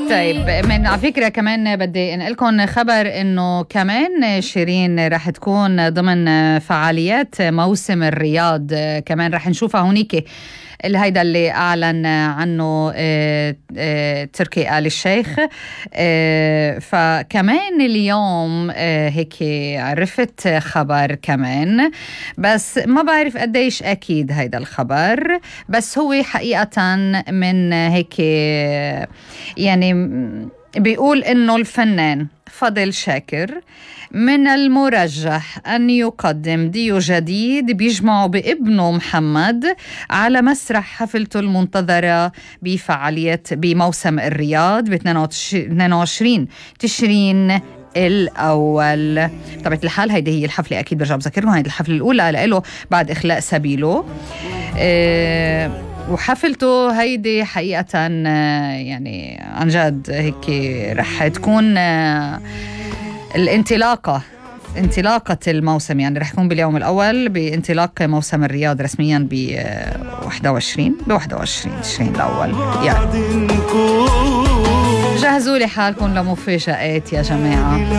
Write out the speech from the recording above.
طيب من على فكرة كمان بدي انقلكم خبر انه كمان شيرين رح تكون ضمن فعاليات موسم الرياض، كمان رح نشوفها هونيك هيدا اللي أعلن عنه تركي آل الشيخ. فكمان اليوم هيك عرفت خبر كمان، بس ما بعرف قديش أكيد هيدا الخبر، بس هو حقيقة من هيك يعني بيقول إنه الفنان فضل شاكر من المرجح أن يقدم ديو جديد بيجمعه بابنه محمد على مسرح حفلته المنتظرة بفعاليات بموسم الرياض ب 22 تشرين الأول. طبعا الحال هيدي هي الحفلة، أكيد برجع بذكركم هيدي الحفلة الأولى لإله بعد إخلاء سبيله. وحفلته هيدي حقيقة يعني عن جد هيك رح تكون انطلاقة الموسم، يعني رح يكون باليوم الأول بانطلاق موسم الرياض رسميا ب 21 تشرين الأول. يعني جهزوا لي حالكم لمفاجآت يا جماعة.